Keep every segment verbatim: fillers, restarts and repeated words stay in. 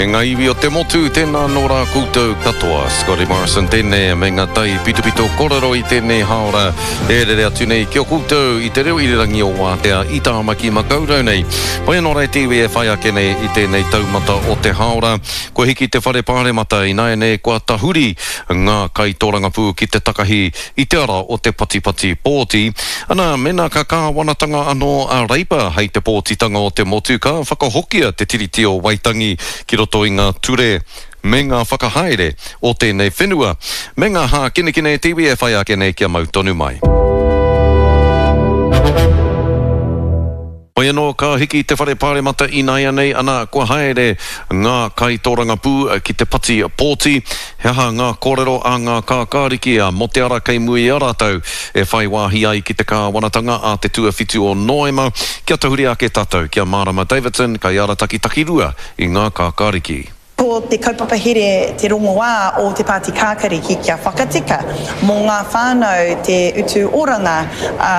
E ngā iwi o te motu, tēnā nō rā koutou katoa. Scotty Morrison tēnei me ngā tai pitopito kōrero i tēnei hāora e rere atu nei ki a koutou i te reo irirangi o Wātea i Tāmaki Makaurau nei. Whai anō rā te iwi e whai ake nei i tēnei taumata o te hāora. Kua hiki te whare pāremata ināianei kua tahuri ngā kaitōrangapū ki te takahi i te ara o te patipati pōti. Ana, mēnā ka kāwanatanga anō a Reipa hei te pōtitanga o te motu ka whakahokia te Tiriti o Waitangi ki roto i ngā ture me ngā whakahaere o tēnei whenua, me ngā hākinakina e te iwi e whai ake nei kia mau tonu mai. Hoi anō ka hiki te whare pāremata ināianei, ana kua haere ngā kaitōrangapū ki te pati pōti. He aha ngā kōrero a ngā kākāriki a mō te ara kei mua i a rātou e whai wāhi ai ki te kāwanatanga a te tuawhitu o Noema? Kia tahuri ake tātou ki a Mārama Davidson, kaiarataki takirua i ngā kākāriki. Ko te kaupapa here te rongoā o te Pāti Kākariki kia whakatika mō ngā whānau te utu oranga, ā,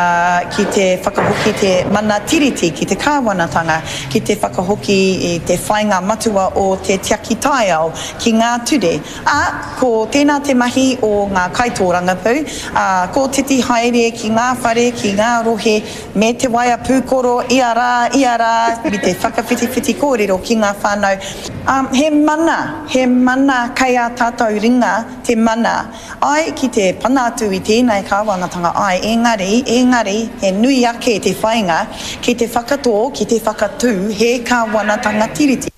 ki te whakahoki te mana tiriti ki te kāwanatanga, ki te whakahoki i te whāinga matua o te tiaki taiao ki ngā ture. Ā, ko tēnā te mahi o ngā kaitōrangapū, ā, kōtiti haere ki ngā whare, ki ngā rohe, me te waea pūkoro ia rā, ia rā, me te whakawhitiwhiti kōrero ki ngā whānau. Ā, he mana, he mana kei ā tātou ringa te mana, āe, ki te pana atu i tēnei kāwanatanga, āe, engari, engari, he nui ake te whāinga ki te whakatō, ki te whakatū he kāwanatanga Tiriti.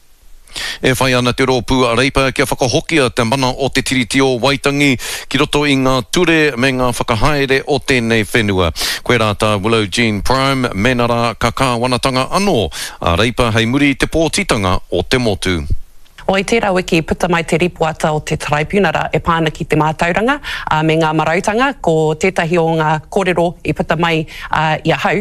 E whai ana te rōpū a Reipa kia whakahokia te mana o te Tiriti o Waitangi ki roto i ngā ture me ngā whakahaere o tēnei whenua. Koirā tā Willow Jean Prime, mēnā rā ka kāwanatanga anō a Reipa hei muri i te pōtitanga o te motu. O, i tērā wiki i puta mai te ripoata o te Taraipiunara e pā ana ki te mātauranga me ngā marautanga, ko tētahi o ngā kōrero i puta mai i ahau,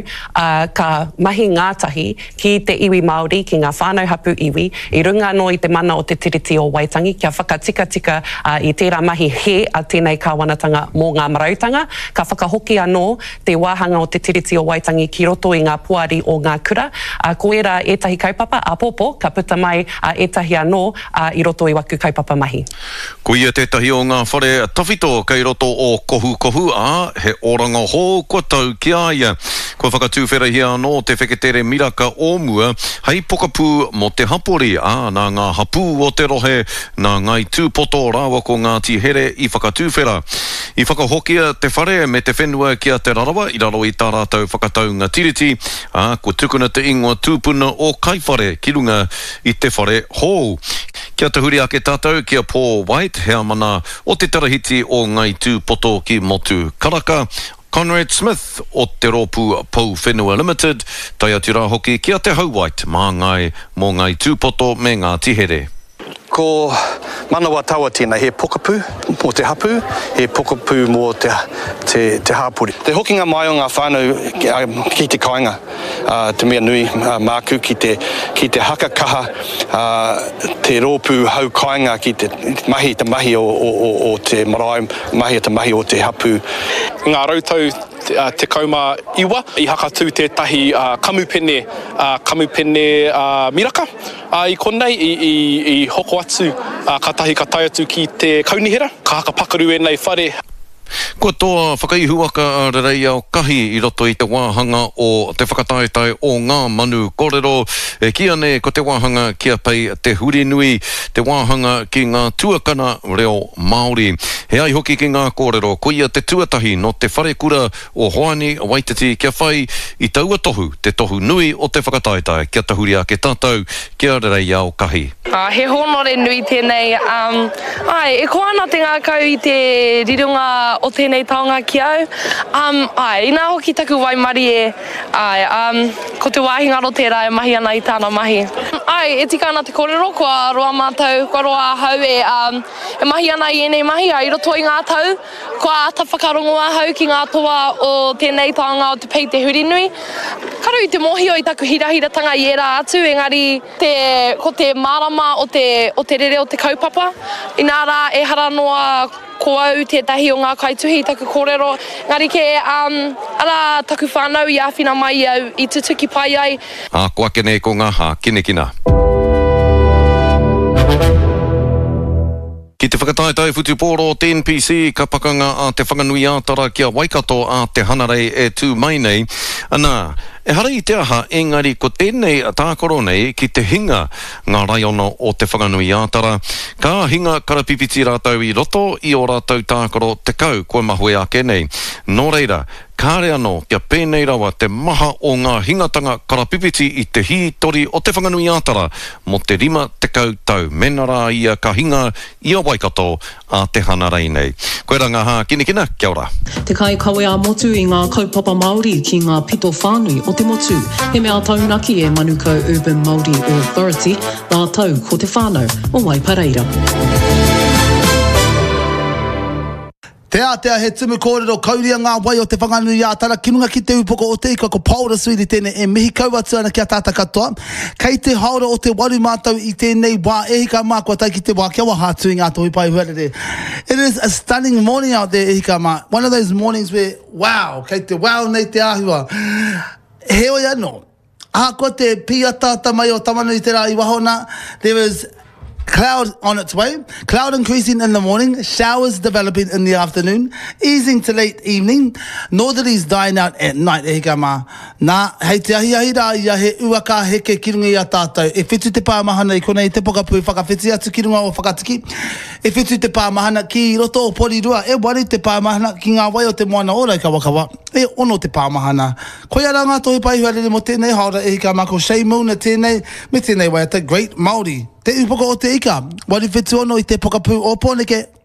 ka mahi ngātahi ki te iwi Māori, ki ngā whānau hapū iwi, i runga anō i te mana o te Tiriti o Waitangi kia whakatikatika i tērā mahi hē a tēnei kāwanatanga mō ngā marautanga, ka whakahoki anō te wāhanga o te Tiriti o Waitangi ki roto i ngā poari o ngā kura, ko ērā ētahi kaupapa āpōpō ka puta mai ētahi anō i roto i waku kaupapa mahi. Ko ia tētahi o ngā whare tawhito kei roto o Kohukohu, ā, he oranga hou kua tau ki a ia. Kua whakatuwherahia anō te wheketere miraka o mua hei pokapū mō te hapori, ā, nā ngā hapū o te rohe, nā Ngāi Tūpoto rāua ko Ngāti Here i whakatuwhera. I whakahokia te whare me te whenua ki a Te Rarawa i raro i tā rātou whakataunga tiriti, ā, kua tukuna te ingoa tūpuna o Kaiwhare ki runga i te whare hou. Kia tahuri ake tātou ki a Paul White, heamana o te Tarahiti o Ngai Tūpoto ki Motu Karaka, Conrad Smith o te rōpū Pou Whenua Limited, tae atu rā hoki ki a Te Hau White, māngai mō Ngai Tūpoto me Ngāti Here. Ko Manawa Tawa tēnei, he pokapū mō te hapū, he pokapū mō te, te, te hāpori. Te hokinga mai o ngā whānau ki te kāinga, te mea nui māku ki te, ki te haka kaha te rōpū hau kāinga ki te mahi te mahi o, o, o, o te marae, mahi te mahi o te hapū. I ngā rautau tekau mā iwa i hakatū tētahi kamupene, kamupene miraka. Ā, i konei i, i, i hoko atu, ā, kātahi ka tae atu ki te kaunihera, ka hakapakaru ēnei whare. Kua toa whakaihuwaka a Rereiao Kahi i roto i te wāhanga o te whakataetae o Ngā Manu Korero, e kīia nei ko te wāhanga ki a Pei Te Hurinui, te wāhanga ki ngā tuakana reo Māori. He ai hoki ki ngā kōrero, koia te tuatahi nō te wharekura o Hoani Waititi kia whai i taua tohu, te tohu nui o te whakataetae, kia tahuri ake tātou ki a Rereiao Kahi. Ā, he hōnore nui tēnei, ā, āe, e koa ana te ngākau i te rironga o tēnei taonga ki au, ā, āe, inā hoki taku waimarie, āe, ā, ko te wāhi ngaro tērā e mahi ana i tāna mahi. Āe, e tika ana te kōrero, kua roa mātou, kua roa ahau e, ā, e mahi ana i ēnei mahi, ā, i roto i ngā tau, kua āta whakarongo ahau ki ngā toa o tēnei taonga o te pei te hurinui. Karu i te mōhio i taku hirahiratanga i ērā atu, engari te, ko te mārama o te, o te rere o te kaupapa, inā rā ehara noa ko au tētahi o ngā kaituhi i taku kōrero, engari kē, ā, arā taku whānau i āwhina mai i au i tutuki pai ai. Ā, ko ake nei ko ngā hākinakina. Ki te whakataetae whutupōro o te NPC, ka pakanga a Te Whanganui-ā-Tara ki a Waikato a te Hanarei e tū mai nei. Anā, ehara i te aha, engari ko tēnei tākaro nei ki te hinga ngā raiona o Te Whanganui-ā-Tara. Ka hinga karapipiti rātou i roto i ō rātou tākaro tekau kua mahue ake nei. Nō reira, kāre anō kia pēnei rawa te maha o ngā hingatanga karapipiti i te hītori o Te Whanganui-ā-Tara mō te rima tekau tau, mēnā rā ia ka hinga i a Waikato a te Hanarei nei. Koirā ngā hākinakina, kia ora. Te kaikawe ā-motu i ngā kaupapa Māori ki ngā pito whānui o te motu. He mea taunaki e Manukau Urban Māori Authority rātou ko te whānau o Waipareira. Te Ātea he tumu kōrero kauria ngā wai o Te Whanganui-ā-Tara ki runga ki te upoko o te ika ko Paora Suiri tēnei e mihi kau atu ana ki a tātou katoa. Kei te haora o te waru mātou i tēnei wā e hika mā kua tae ki te wā kia waha atu i ngā tohu pae huarere. It is a stunning morning out there e hika mā. One of those mornings where wow, kei te wow nei te āhua. Heoi anō, ahakoa te pīataata mai o Tamanui-te-rā i waho nā, there is cloud on its way, cloud increasing in the morning, showers developing in the afternoon, easing to late evening, northerlies dying out at night, e hika mā. Nā, hei te ahiahi rā ia he ua ka heke ki runga i a tātou. E whitu te pāmahana i konei i te pokapū whakawhiti atu ki runga o Whakatiki. E whitu te pāmahana ki roto o Porirua. E waru te pāmahana ki ngā wai o te moana o Raukawakawa. E ono te pāmahana. Koia rā ngā tohu pae huarere mō tēnei haora e hika mā ko Shay Milner tēnei me tēnei waiata Great Māori. Te Upoko o te Ika, waru whitu ono i te pokapū o Pōneke.